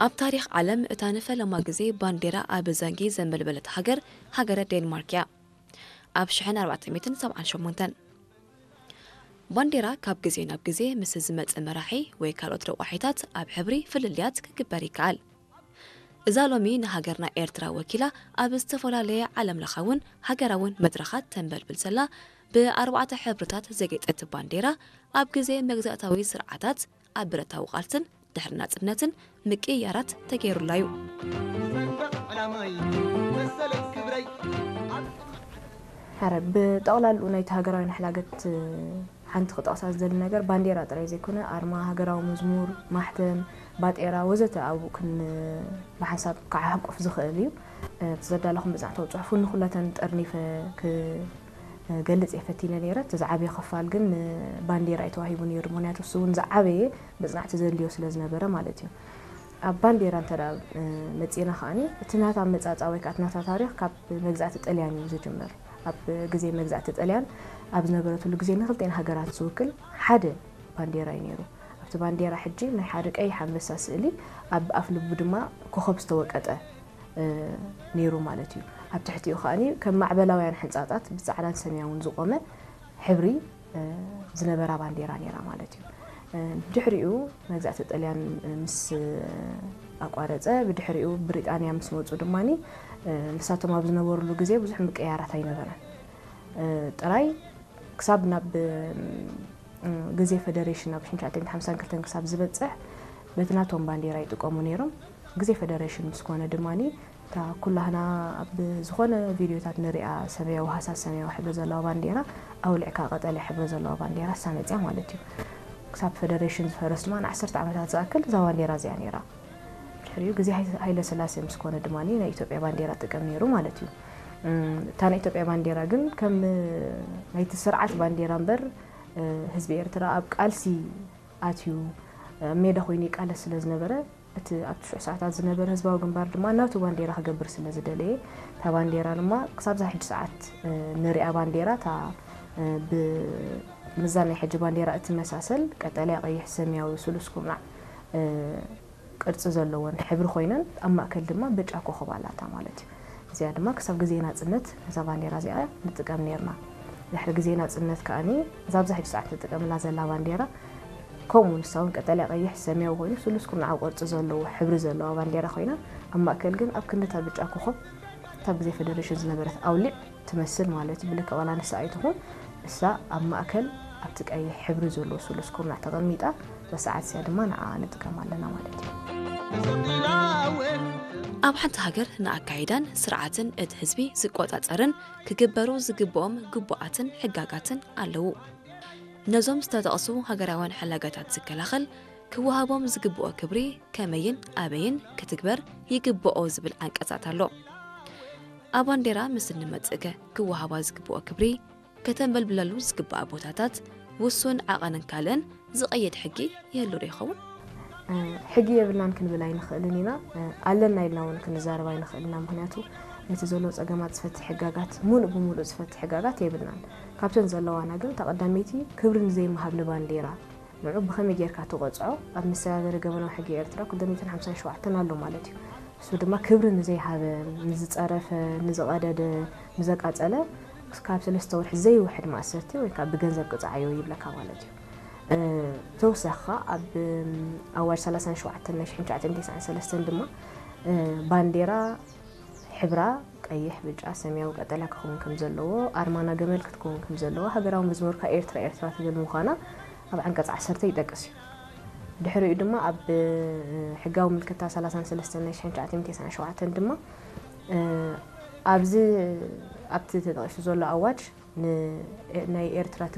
ኣብ ታሪኽ ዓለም እታ ንፈለማ ግዜ ባንዴራ ኣብ ዘንጊ ዘንበልበለት ሃገር፣ ሃገረ ዴንማርክ እያ። ኣብ ሽሕን ኣርባዕተ ሚእትን ሰብዓን ሸሞንተን። ባንዴራ ካብ ግዜ ናብ ግዜ ምስ ዝመጽእ መራሒ ወይ ካልኦት ረቋሒታት ኣብ ሕብሪ ፍልልያት ክግበር ይከኣል። እዛ ሎሚ ንሃገርና ኤርትራ ወኪላ ኣብ ዝተፈላለየ ዓለም ለኻውን ሃገራውን መድረኻት ተንበልብል ዘላ ብኣርባዕተ ሕብርታት ዘጌጠት ባንዴራ፣ ኣብ ግዜ መግዛእታዊ ስርዓታት፣ ኣብ ብረታዊ ቃልስን ድሕሪ ናጽነትን ምቅይያራት ተገይሩላ እዩ። ሕረ ብጠቕላልኡ ናይቲ ሃገራዊ ንሕላገት ሓንቲ ክጠቕሳ ዝደሊ ነገር ባንዴራ ጥራይ ዘይኮነ ኣርማ፣ ሃገራዊ መዝሙር፣ ማሕተም፣ ባጤራ ወዘተ ኣብኡ ክን ብሓንሳብ ክዓሕቁፍ ዝኽእል እዩ። እቲ ዘዳለኹም መጽናዕታዊ ጽሑፍ እውን ንኹለተን ጠርኒፈ ክገልጽ እየ ፈቲነ ነይረ። እቲ ዝዓበየ ክፋል ግን ንባንዴራ እዩ ተዋሂቡ ነይሩ። ምኽንያቱ እሱ እውን ዝዓበየ መጽናዕቲ ዘድልዮ ስለ ዝነበረ ማለት እዩ። ኣብ ባንዴራ እንተ መጺእና ከኣኒ እቲ ናታ ኣመጻጽኣ ወይ ከዓ እቲ ናታ ታሪኽ ካብ መግዛእቲ ጥልያን እዩ ዝጅምር። ኣብ ግዜ መግዛእቲ ጥልያን ኣብ ዝነበረትሉ ግዜ ንክልቴን ሃገራት ዝውክል ሓደ ባንዴራ እዩ ነይሩ። ኣብቲ ባንዴራ ሕጂ ናይ ሓደ ቀይሕ ኣንበሳ ስእሊ ኣብ ኣፍ ልቡ ድማ ኮኸብ ዝተወቀጠ ነይሩ ማለት እዩ። ኣብ ትሕቲኡ ከኣኒ ከም ማዕበላውያን ሕንጻጻት ብጻዕዳን ሰማያውን ዝቆመ ሕብሪ ዝነበራ ባንዴራ ነይራ ማለት እዩ። ድሕሪኡ መግዛእቲ ጥልያን ምስ ኣቋረጸ፣ ብድሕሪኡ ብሪጣንያ ምስ መጹ ድማኒ ንሳቶም ኣብ ዝነበሩሉ ግዜ ብዙሕ ምቅያራት ኣይነበረን። ጥራይ ክሳብ ናብ ግዜ ፈደሬሽን ኣብ ሽሕን ትሽዓተ ሚእትን ሓምሳን ክልተን ክሳብ ዝበጽሕ በቲ ናቶም ባንዴራ ይጥቀሙ ነይሮም። ግዜ ፈደሬሽን ምስ ኮነ ድማኒ እታ ኩላህና ኣብ ዝኾነ ቪድዮታት ንሪኣ ሰማያዊ ሃሳስ ሰማያዊ ሕብሪ ዘለዋ ባንዴራ ኣውሊዕካ ቀጠልያ ሕብሪ ዘለዋ ባንዴራ እሳ መፅያ ማለት እዩ። ክሳብ ፈደሬሽን ዝፈረስ ድማ ንዓሰርተ ዓመታት ዝኣክል እዛ ባንዴራ እዚኣ ነይራ። ድሕሪኡ ግዜ ሃይ- ሃይለ ስላሴ ምስ ኮነ ድማ ናይ ኢትዮጵያ ባንዴራ ጥቀም ነይሩ ማለት እዩ። እም፣ እታ ናይ ኢትዮጵያ ባንዴራ ግን ከም ናይቲ ስርዓት ባንዴራ እምበር እ፣ ህዝቢ ኤርትራ ኣብ ቃልሲ ኣትዩ ኣብ ሜዳ ኮይኑ ይቃለስ ስለ ዝነበረ እቲ ኣብቲ ሽዑ ሰዓታት ዝነበረ ህዝባዊ ግንባር ድማ ናቱ ባንዴራ ክገብር ስለ ዝደለየ እታ ባንዴራ ድማ ክሳብ እዛ ሕጂ ሰዓት ንሪኣ ባንዴራ እታ ብምዛን ናይ ሕጂ ባንዴራ እትመሳሰል ቀጠልያ ቀይሕ ሰማያዊ ስሉስ ኩርናዕ ቅርጺ ዘለወን ሕብሪ ኮይነን ኣብ ማእከል ድማ ብጫ ኮኾብ ኣላታ ማለት እዩ። እዚኣ ድማ ክሳብ ግዜ ናጽነት ነዛ ባንዴራ እዚኣ ንጥቀም ኔርና። ድሕሪ ግዜ ናጽነት ከኣኒ እዛ ኣብዚ ሕጂ ሰዓት ንጥቀመላ ዘላ ባንዴራ ከምኡ ንሳ እውን ቀጠልያ ቀይሕ ሰማያዊ ኮይኑ ስሉስ ኩርናዓዊ ቅርጺ ዘለዎ ሕብሪ ዘለዋ ባንዴራ ኮይና ኣብ ማእከል ግን ኣብ ክንዲ እታ ብጫ ኮኾብ እታ ብዘይ ፈደረሽን ዝነበረት ኣውሊዕ ትመስል ማለት እዩ። ብልክዕ ዋላ ንሳ ኣይትኹን እሳ ኣብ ማእከል ኣብቲ ቀይሕ ሕብሪ ዘለዎ ስሉስ ኩርናዕ ተቐሚጣ እዛ ሰዓት እዚኣ ድማ ንዓ ንጥቀም ኣለና ማለት እዩ። ኣብ ሓንቲ ሃገር ንኣካይዳን ስርዓትን እቲ ህዝቢ ዝቆጻጸርን ክግበሩ ዝግብኦም ግቡኣትን ሕጋጋትን ኣለዉ። ነዞም ዝተጠቕሱ ሃገራውያን ሕላጋታት ዝከላኸል ክወሃቦም ዝግብኦ ክብሪ ከመይን ኣበይን ክትግበር ይግብኦ ዝብል ዓንቀጻት ኣሎ። ኣብ ባንዴራ ምስ እንመጽእከ ክወሃባ ዝግብኦ ክብሪ ከተንበልብለሉ ዝግብኣ ቦታታት ውሱን ዓቐንን ካልእን ዝቐይድ ሕጊ ይህሉ ዶ ይኸውን? ሕጊ የብልናን ክንብል ኣይንኽእልን ኢና ኣለና ኢልና እውን ክንዛረብ ኣይንኽእልን ኢና ምኽንያቱ ነቲ ዘሎ ፀገማት ዝፈትሕ ሕጋጋት ሙሉእ ብሙሉእ ዝፈትሕ ሕጋጋት የብልናን ካብተን ዘለዋና ግን እታ ቀዳመይቲ ክብሪ ንዘይምሃብ ንባንዴራ ንዑ ብኸመይ ጌርካ ትቖፅዖ ኣብ መሰጋገሪ ገበናዊ ሕጊ ኤርትራ ክልተ ሚእትን ሓምሳን ሸውዓተን ኣሎ ማለት እዩ እሱ ድማ ክብሪ ንዘይሃበ ንዝፀረፈ ንዝቐደደ ንዘቃፀለ ካብ ሰለስተ ወርሒ ዘይውሕድ ማእሰርቲ ወይ ከዓ ብገንዘብ ቅፅዓዮ ይብለካ ማለት እዩ ተወሳኺ ከዓ ኣብ ኣዋጅ ሰላሳን ሸውዓተን ናይ ሽሕን ትሽዓተ ሚእትን ተስዓን ሰለስተን ድማ ባንዴራ ሕብራ ቀይሕ ብጫ ሰማያዊ ቀጠልያ ክኸውን ከም ዘለዎ ኣርማና ገመል ክትከውን ከም ዘለዎ ሃገራዊ መዝሙርካ ኤርትራ ኤርትራ ትብል ምዃና ኣብ ዓንቀፅ ዓሰርተ ይጠቅስ እዩ ድሕሪኡ ድማ ኣብ ሕጋዊ ምልክታ ሰላሳን ሰለስተን ናይ ሽሕን ትሽዓተ ሚእትን ተስዓን ሸውዓተን ድማ ኣብዚ ኣብቲ ተጠቒሱ ዘሎ ኣዋጅ ናይ ኤርትራ